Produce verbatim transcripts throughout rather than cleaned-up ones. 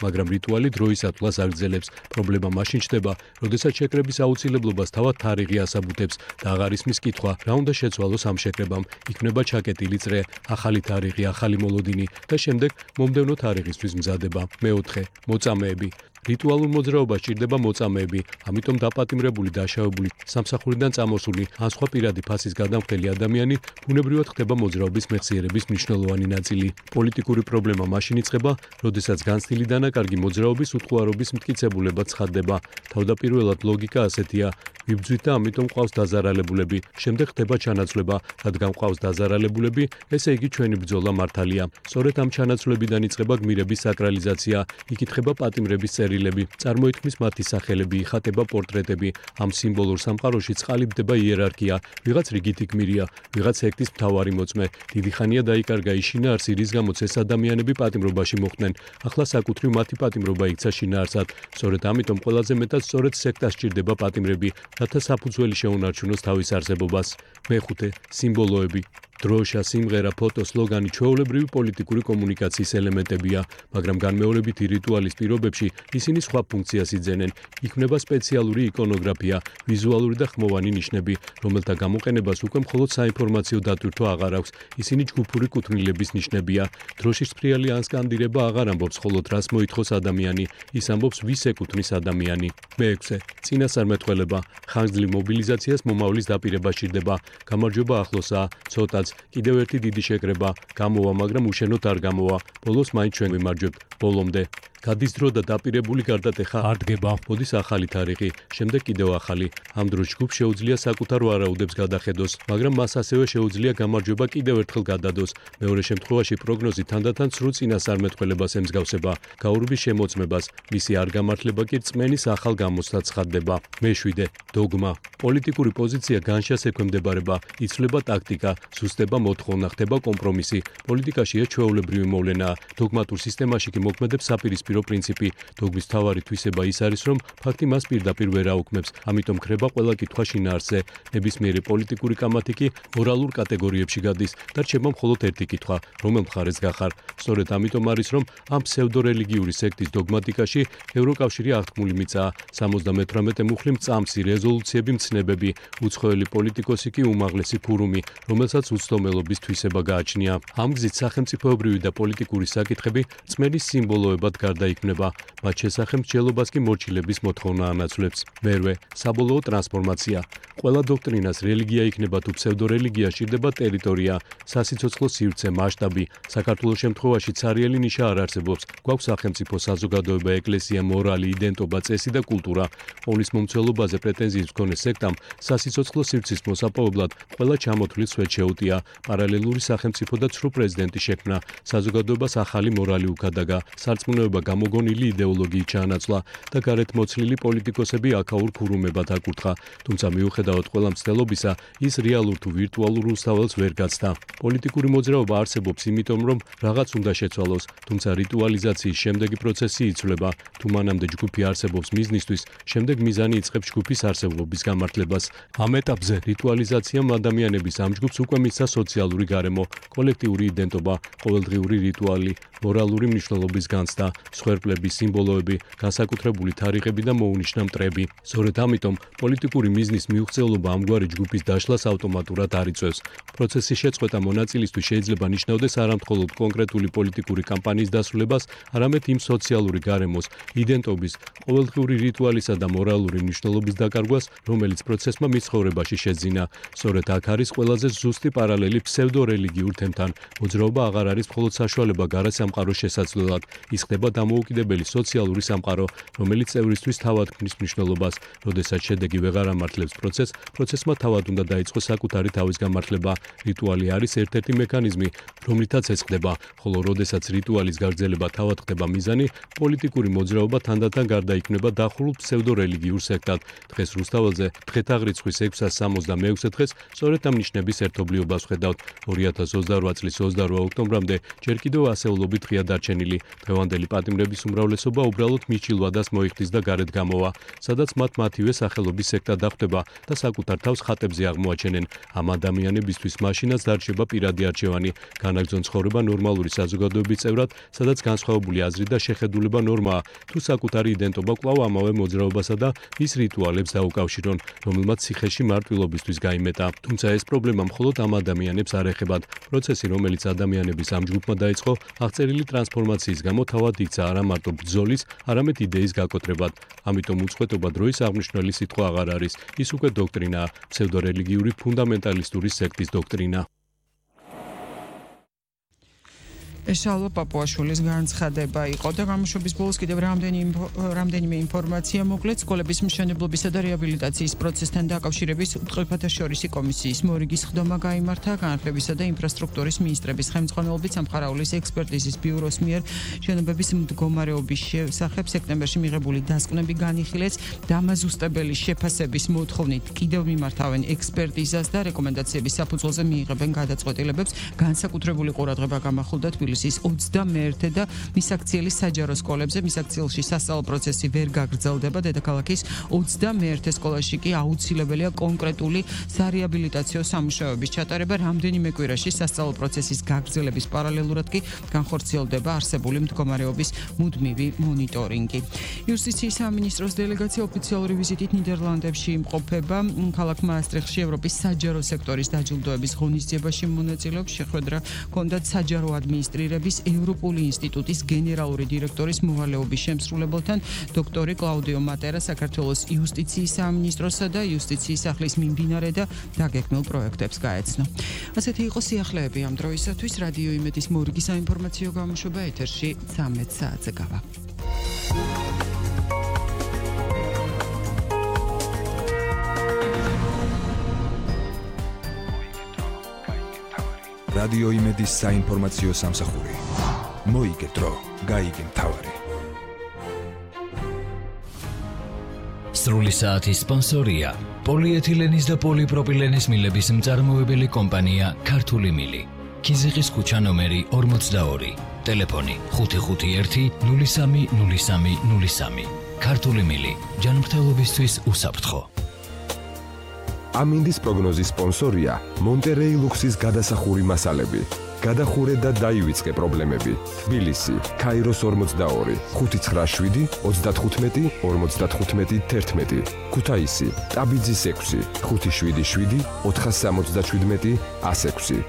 მაგრამ რიტუალი დროისათვლას აგრძელებს. პრობლემა მაშინ ჩნდება, როდესაც შეკრების აუცილებლობას თავად თარიღი ასაბუთებს და აღარ ისმის კითხვა, რა უნდა შეცვალოს ამ შეკრებამ. იქნება ჩაკეტილი წრე, ახალი თარიღი, ახალი მოლოდინი და შემდეგ მომდევნო თარიღისთვის მზადება. მეოთხე, მოწამეები. რიტუალურ მოძრაობას სჭირდება მოწამეები, ამიტომ დაპატიმრებული, დაშავებული, სამსახურიდან წამოსული, ან სხვა პირადი ფასის გადამხდელი ადამიანი ბუნებრივად ხდება მოძრაობის მეხსიერების მნიშვნელოვანი ნაწილი. პოლიტიკური პრობლემა მაშინ იწყება, როდესაც განცდილი დანაკარგი მოძრაობის უთხოვარობის მტკიცებულებად ცხადდება. თავდაპირველად ლოგიკა ასეთია: ვიბრძვით და ამიტომ ყავს დაზარალებულები. შემდეგ ხდება ჩანაცვლება, რადგან ყავს დაზარალებულები, ესე იგი ჩვენი ბრძოლა მართალია. სწორედ ამ ჩანაცვლებიდან იწყება გმირების საკრალიზაცია, იკითხება პატიმრების წერილები, წარმოითქმის მათი სახელები, იხატება პორტრეტები. ამ სიმბოლურ სამყაროში წყალიბდება იერარქია, ვიღაც რიგითი გმირია, ვიღაც სექტის მთავარი მოწმე. დიდი ხანია დაიკარგა ის შინაარსი, რის გამოც ეს ადამიანები პატიმრობაში მოხვდნენ. ახლა საკუთრივ მათი პატიმრობა იქცა შინაარსად. სწორედ ამიტომ ყველაზე მეტად სწორედ სექტას სჭირდება პატიმრები, რათა საფუძველი შეუნარჩუნოს თავის არსებობას. მეხუთე, სიმბოლოები. დროშა, სიმღერა, ფოტო, სლოგანი ჩვეულებრივი პოლიტიკური კომუნიკაციის ელემენტებია, მაგრამ განმეორებითი რიტუალის პირობებში ისინი სხვა ფუნქციას იძენენ. იქმნება სპეციალური იკონოგრაფია, ვიზუალური და ხმოვანი ნიშნები, რომელთა გამოყენებას უკვე მხოლოდ საინფორმაციო დატვირთვა აღარ აქვს. ისინი ჯგუფური კუთვნილების ნიშნებია. დროშის ფრიალი ან სკანდირება აღარ ამბობს მხოლოდ რას მოითხოვს ადამიანი, ის ამბობს ვის ეკუთვნის ადამიანი. მეექვსე, წინასწარმეტყველება. ხანგრძლივ მობილიზაციას მომავლის დაპირება სჭირდება. გამარჯვება ახლოსაა, ცოტა კიდევ ერთი დიდი შეკრება, გამოვა, მაგრამ უშენოდ არ გამოვა. ბოლოს მაინც ჩვენ ვიმარჯვებთ, ბოლომდე. გადის დრო და დაპირებული გარდატეხა არ დგება. მოდის ახალი თარიღი, შემდეგ კიდევ ახალი. ამ დროს ჯგუფს შეუძლია საკუთარ ვარაუდებს გადახედოს, მაგრამ მას ასევე შეუძლია გამარჯვება კიდევ ერთხელ გადადოს. მეორე შემთხვევაში პროგნოზი თანდათან ცრუ წინასწარმეტყველებას ემსგავსება, გაურბის შემოწმებას, მისი არ გამართლება კი რწმენის ახალ გამოცდად ცხადდება. მეშვიდე, დოგმა. პოლიტიკური პოზიცია განშას ექვემდებარება, იცვლება ტაქტიკა, სუსტება მოთხოვნა, ხდება კომპრომისი. პოლიტიკაში ეს ჩვეულებრივი მოვლენაა. დოგმატურ სისტემაში კი მოქმედებს საპირისპირო პრინციპი. დოგმის მთავარი თვისება ის არის, რომ ფაქტი მას პირდაპირ ვერ აუქმებს, ამიტომ ქრება ყველა კითხვა შინაარსზე. ნებისმიერი პოლიტიკური კამათი კი მორალურ კატეგორიებში გადის და რჩება მხოლოდ ერთი კითხვა, რომელ მხარეს გახარ. სწორედ ამიტომ არის, რომ ამ ფსევდორელიგიური სექტის დოგმატიკაში ევროკავშირი აღთქმული მიწაა. სამოცდამეთვრამეტე მუხლი მწამსი, რეზოლუციები მცნებები, უცხოელი პოლიტიკოსი კი უმაღლესი ფურუმი, რომელსაც უცდომელობის თვისება გააჩნია. ამ გზით სახელმწიფოებრივი და პოლიტიკური საკითხები რწმენის სიმბოლოებად გარდაიქმნება, მათ შესახებ მსჯელობას კი მორჩილების მოთხოვნა ანაცვლებს. მერვე, საბოლოო ტრანსფორმაცია. ყველა დოქტრინას რელიგია იქნება თუ ფსევდორელიგია სჭირდება ტერიტორია, სასიცოცხლო სივრცე, მასშტაბი. საქართველოს შემთხვევაში ცარიელი ნიშა არ არსებობს. გვაქვს სახელმწიფო, საზოგადოება, ეკლესია, მორალი, იდენტობა, წესი და კულტურა. ოვნის მომცველობაზე პრეტენზიის მქონე სექტამ სასიცოცხლო სივრცის მოსაპოვებლად ყველა ჩამოთვლილ სვეტ შეუტია. პარალელური სახელმწიფო და ცრუ პრეზიდენტი შექმნა. საზოგადოებას ახალი მორალი უკადაგა, სარწმუნოება გამოგონილი იდეოლოგიით ჩაანაცვლა და გარეთ მოცლილი პოლიტიკოსები აქაურ ქურუმებად აკურთხა. თუმცა მიუხედავად ყველა მცდელობისა, ის რეალურ თუ ვირტუალურ უსწავლელს ვერ გაცდა. პოლიტიკური მოძრაობა არსებობს იმიტომ, რომ რაღაც უნდა შეცვალოს, თუმცა რიტუალიზაციის შემდეგი პროცესი იცვლება. თუ მანამდე ჯგუფი არსებობს მიზნისთვის, შემდეგ მიზანი იწყებს ჯგუფის არსებობის გამართლებას. ამ ეტაპზე რიტუალიზაციამ ადამიანების ამ ჯგუფს უკვე მისცა სოციალური გარემო, კოლექტიური იდენტობა, ყოველდღიური რიტუალი, მორალური მნიშვნელობის განცდა, სხერფლები, სიმბოლოები, განსაკუთრებული თარიღები და მოუნიშნა მტრები. სწორედ ამიტომ პოლიტიკური მიზნის მიუღწევლობა ამგვარი ჯგუფის დაშლას ავტომატურად არ იწვევს. პროცესის შეწყვეტა მონაწილისთვის შეიძლება ნიშნავდეს არამხოლოდ კონკრეტული პოლიტიკური კამპანიის დასრულებას, არამედ იმ სოციალური გარემოს, იდენტობის, ყოველდღიური რიტუალისა და მორალური მნიშვნელობის დაკარგვას, რომელიც პროცესმა მის ცხოვრებაში შეძინა. სწორედ აქ არის ყველაზე ზუსტი პარალელი ფსევდორელიგიურ თემთან. მოძრაობა აღარ არის მხოლოდ საშუალება გარე სამყაროს შესაძლებლად, ის ხდება დამოუკიდებელი სოციალური სამყარო, რომელიც წევრისთვის თავად ქმნის მნიშვნელობას. როდესაც შედეგი ვეღარ ამართლებს პროცესს, პროცესმა თავად უნდა დაიწყოს საკუთარი თავის გამართლება. რიტუალი არის ერთ-ერთი მექანიზმი, რომლითაც ეს ხდება, ხოლო როდესაც რიტუალის გაგრძელება თავად ხდება მიზანი, პოლიტიკური მოძრაობა თანდათან გარდაიქმნება დახურულ ფსევდორელიგიურ სექტად. დღეს რუსთაველზე დღეთაღრიცხვის ექვსას სამოცდამეექვსე დღეს სწორედ ამ ნიშნების ერთობლიობას ვხედავთ. ორი ათას ოცდაორვა წლის ოცდაორვა ოქტომბრამდე ჯერ კიდევ ასეულობით ღია დარჩენილი დღევანდელი პატიმრობა მუსლიმების უმრავლესობა უბრალოდ მიჩილვადას მოიხდის და გარეთ გამოვა, სადაც მათ მათივე სახელობის სექტა დახვდება და საკუთარ თავს ხატებზე აღმოაჩენენ. ამ ადამიანებისთვის მაშინაც დარჩება პირადი არჩევანი, განაგრძონ ცხოვრება ნორმალური საზოგადოების წევრად, სადაც განსხვავებული აზრი და შეხედულება ნორმაა, თუ საკუთარი იდენტობა კვლავ ამავე მოძრაობასა და მის რიტუალებს დაუკავშირონ, რომელმაც ციხეში მარტვილობისთვის გაიმეტა. თუმცა ეს პრობლემა მხოლოდ ამ ადამიანებს არ ეხებათ. პროცესი, რომელიც ადამიანების ამ ჯგუფმა დაიწყო, აღწერილი ტრანსფორმაციის გამო თავად იქცა არა მარტო ბრძოლის, არამედ იდეის გაკოტრებად. ამიტომ უწყვეტობა დროის აღნიშნული სიტყვა აღარ არის. ის უკვე დოქტრინაა, ფსევდორელიგიური ფუნდამენტალისტური სექტის დოქტრინა. ეშალო პაპუაშვილის განცხადება იყო და გამოშვების ბოლოს კიდევ რამდენი რამდენიმე ინფორმაცია მოკლედ სკოლების მშენებლობისა და რეაბილიტაციის პროცესთან დაკავშირების უთხრელთა შორისი კომისიის მორიგის ხდომა გაიმართა განათლებისა და ინფრასტრუქტურის მინისტრების ხელმძღვანელობით სამხარაულის ექსპერტიზის ბიუროს მიერ შენობების მდგომარეობის შესახებ სექტემბერში მიღებული დასკვნები განიხილეს დამაზუსტებელი შეფასების მოთხოვნით კიდევ მიმართავენ ექსპერტიზას და რეკომენდაციების საფუძველზე მიიღებენ გადაწყვეტილებებს განსაკუთრებული ყურადღება გამახვილდა თბილისის ოცდამეერთე და მისაქციელის საჯარო სკოლებზე. მისაქციელში სასწავლო პროცესი ვერ გაგრძელდება, დედაქალაქის ოცდამეერთე სკოლაში კი აუცილებელია კონკრეტული სარეაბილიტაციო სამუშაოების ჩატარება. რამდენიმე კვირაში სასწავლო პროცესის გაგრძელების პარალელურად კი განხორციელდება არსებული მდგომარეობის მუდმივი მონიტორინგი. იუსტიციის სამინისტროს დელეგაცია ოფიციალური ვიზიტით ნიდერლანდებში იმყოფება. ქალაქ მაასტრიხტში ევროპის საჯარო სექტორის დაჯილდოების ღონისძიებაში მონაწილეობს. შეხვედრა ჰქონდათ საჯარო ადმინისტრირების ევროპული ინსტიტუტის გენერალური დირექტორის მოვალეობის შემსრულებელთან დოქტორი კლაუდიო მატერა, საქართველოს იუსტიციის სამინისტროსა და იუსტიციის სახლის მიმდინარე და დაგეგმილ პროექტებს გაეცნო. ასეთი იყო სიახლეები ამ დროისათვის. რადიო იმედის მორიგი საინფორმაციო გამოშვება ეთერში ცამეტ საათზე გავა. რადიო იმედის საინფორმაციო სამსახური. მოიგე დრო, გაიგე მთავარი. სრული საათის სპონსორია პოლიეთილენის და პოლიპროპილენის მილების მწარმოებელი კომპანია ქართული მილი. ქიზიყის ქუჩა ნომერი ორმოცდაორი. ტელეფონი ხუთი ხუთი ერთი ნული სამი ნული სამი ნული სამი. ქართული მილი. ჯანმრთელობისთვის უსაფრთხო. ამინდის პროგნოზის სპონსორია მონტერეი ლუქსის გადასახური მასალები. გადახურე და დაივიწყე პრობლემები. თბილისი, ქაიროს ორმოცდაორი, ხუთი ცხრა შვიდი ოცდათხუთმეტი ორმოცდათხუთმეტი თერთმეტი. ქუთაისი, ტაბიძის ექვსი, ხუთი შვიდი შვიდი ოთხასამოცდაშვიდმეტი ასექვსი.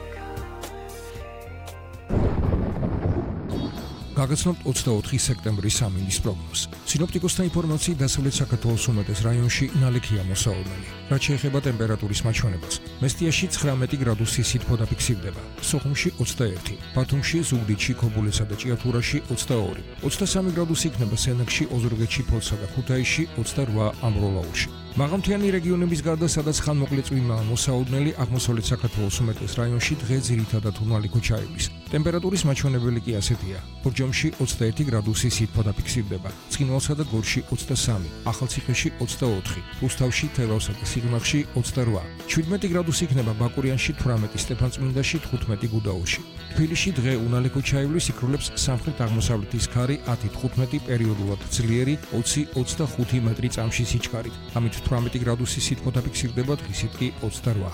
გაგაცნობთ ოცდაოთხი სექტემბრის ამინდის პროგნოზს. სინოპტიკოსთა ინფორმაციით დასავლეთ საქართველოს უმეტეს რაიონში ნალექია მოსაოდნელი. რაც შეეხება ტემპერატურის მაჩვენებას, მესტიაში ცხრამეტი გრადუსი სითბო დაფიქსირდება, სოხუმში ოცდაერთი, ბათუმში, ზუგდიდში, ქობულეთსა და ჭიათურაში ოცდაორი, ოცდასამი გრადუსი იქნება სენაკში, ოზურგეთში, ფოთსა და ქუთაისში, ოცდარვა ამბროლაურში. მაღალმთიანი რეგიონების გარდა, სადაც ხანმოკლე წვიმაა მოსაოდნელი, აღმოსავლეთ საქართველოს უმეტეს რაიონში დღე ძირითადად უთმალი ქუჩაების. ტემპერატურის მაჩვენებელი კი ასეთია: ბორჯომში ოცდაერთი გრადუსი სითბო დაფიქსირდება, ცხინვალსა და გორში ოცდასამი, ახალციხეში ოცდაოთხი, რუსთავში, თელავსა და სიღნაღში ოცდარვა, შვიდმეტი გრადუსი იქნება ბაკურიანში, თვრამეტი სტეფანწმინდაში, თხუთმეტი გუდაურში. თბილისში დღე უნალე ქუჩაივლის იქრულებს სამხრეთ-აღმოსავლეთის ქარი ათი თხუთმეტი, პერიოდულად ძლიერი ოცი ოცდახუთი მეტრი წამში სიჩქარით. ამით თვრამეტი გრადუსი სითბო დაფიქსირდება, დღისით კი ოცდარვა.